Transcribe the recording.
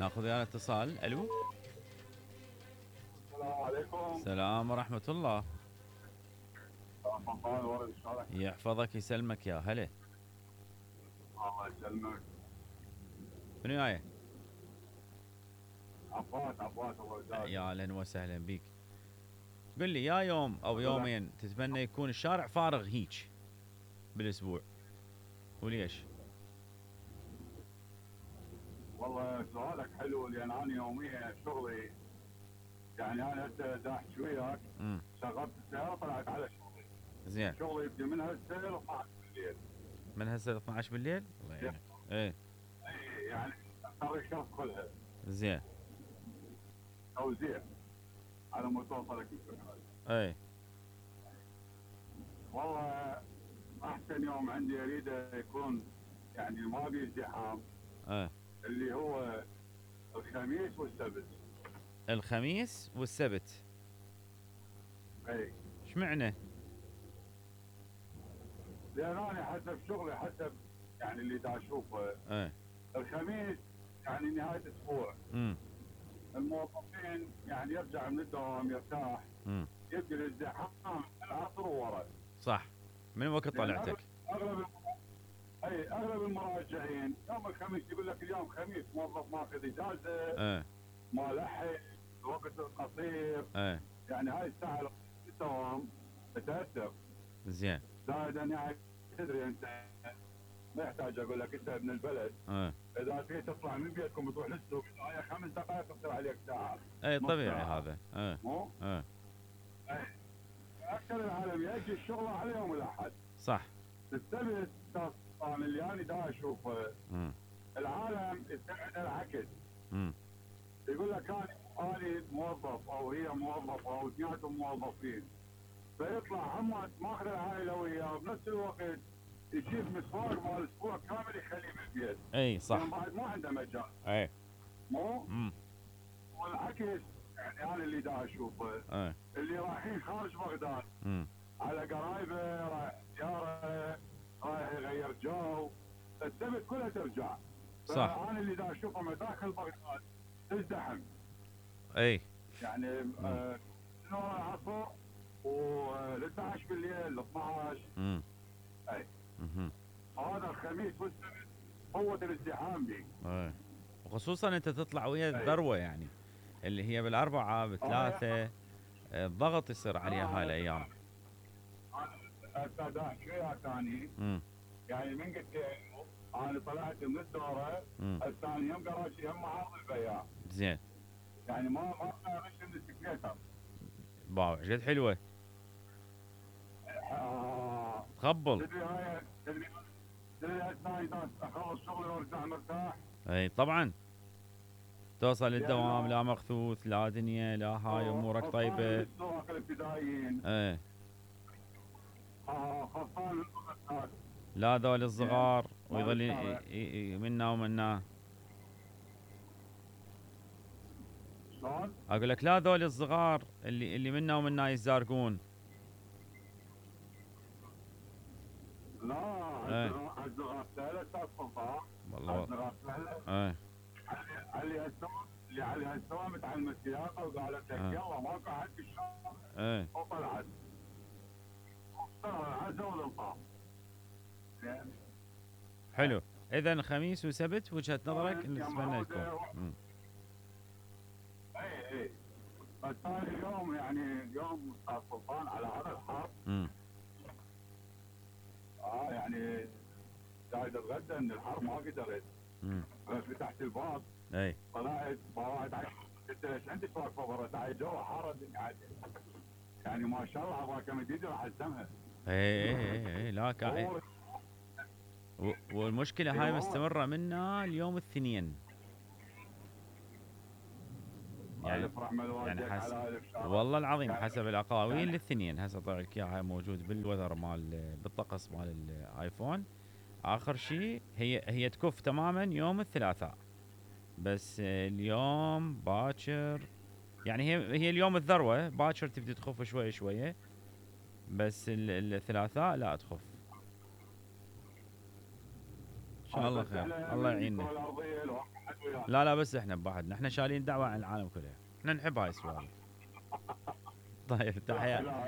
ناخذ ويانا اتصال. الو. السلام عليكم. السلام ورحمة الله. رمضان ورد شلونك؟ يحفظك يسلمك يا هلا. الله يسلمك. منو وياي؟ عباس الله يجزاك. يا اهلا وسهلا بيك. قل لي يا يوم او يومين تتمنى يكون الشارع فارغ هيج بالاسبوع، وليش؟ والله سؤالك حلو لان انا يوميا شغلي، يعني انا هسه داحش وياك شغلت السياره طلعت على شغلي. زين. شغلي يبدي من هسه ل 12 بالليل. من هسه ل 12 بالليل؟ الله يعينك. ايه. اي يعني اختار الشهر كلها. زين. توزيع على مود توصلك الفكره. ايه. والله احسن يوم عندي اريده يكون يعني ما بيه ازدحام. ايه. اللي هو الخميس والسبت. الخميس والسبت. اي. اشمعنى؟ لان انا حسب شغلي حسب يعني اللي دا اشوفه. ايه. الخميس يعني نهايه اسبوع. الموظفين يعني يرجع من الدوام يرتاح. يبدي الازدحام العصر وورا. صح. من وقت طلعتك؟ اغلب المراجعين يوم الخميس يقول لك اليوم خميس، موظف ماخذ اجازه. ما لحق الوقت قصير. يعني هاي الساعه الدوام تتاثر. زين. زائد يعني تدري انت ما يحتاج اقول لك انت ابن البلد. اذا تريد تطلع من بيتكم وتروح للسوق هاي 5 دقائق تصير عليك ساعه. اي طبيعي هذا. مو؟ اكثر العالم يجي الشغل على يوم الاحد. صح. السبت طبعا اللي انا دا اشوفه العالم يستعد العكس. يقول لك انا موظف او هي موظفه او اثنيناتهم موظفين، فيطلع هم ماخذ العائله وياه وبنفس الوقت يجيب مسواق مال اسبوع كامل يخليه بالبيت. اي صح. يعني بعد ما عنده مجال. اي. مو؟ والعكس يعني انا اللي دا اشوفه اللي رايحين خارج بغداد على قرايبه، رايح زياره، رايح يغير جو، السبت كلها ترجع. صح. فانا اللي دا اشوفه مداخل بغداد تزدحم. اي. يعني نور العصر ول 12 بالليل ل 12. اي. هذا الخميس والسبت قوة الازدحام بي. وخصوصا انت تطلع ويا الذروه يعني اللي هي بالاربعه بالثلاثه الضغط يصير عليها هاي الايام. هسه داحش وياك ثاني. يعني من قلت انا طلعت من الدوره الثاني يوم قراشي هم معارض البياع. زين. يعني ما اغش من السكليتر. باو جد حلوه. تخبل. تدري هسه اذا اخلص شغلي وارجع مرتاح. اي طبعا. توصل للدوام لا مخثوث لا دنيا لا هاي امورك طيبه. السواق الابتدائيين. خلصان لا ذول الصغار ويظل منا ومنا. شلون؟ اقول لك لا ذول الصغار اللي منا ومنا يزارقون. لا الصغار سهله استاذ سلطان. والله. الصغار سهله. اللي عليها السوا متعلمه السياقه وقالت لك يلا ماكو حد الشارع. وطلعت. عزوا الالقاب. حلو. اذا خميس وسبت وجهه نظرك نتمنى يكون. اي. بس ثاني اليوم يعني اليوم استاذ سلطان على هذا الحر. يعني قاعد اتغدى ان الحر ما قدرت. فتحت الباب. اي. طلعت باوعد قلت ليش عندك واقفه برا؟ تعال جوا حاره الدنيا. يعني ما شاء الله ابغى كمديدي راح الزمها. اي لا كاي. والمشكله هاي مستمره منا اليوم الاثنين. يعني والله العظيم حسب الاقاويل الاثنين. هسه طلع لك اياها موجود بالوذر مال بالطقس مال الايفون. اخر شيء هي تكف تماما يوم الثلاثاء، بس اليوم باكر يعني هي اليوم الذروه باكر تبدي تخف شويه شويه، بس الثلاثاء لا تخف. ان شاء الله خير. الله يعيننا. ويانا. لا لا بس احنا ببعضنا، احنا شايلين دعوه عن العالم كله، احنا نحب هاي السوالف. طيب تحية.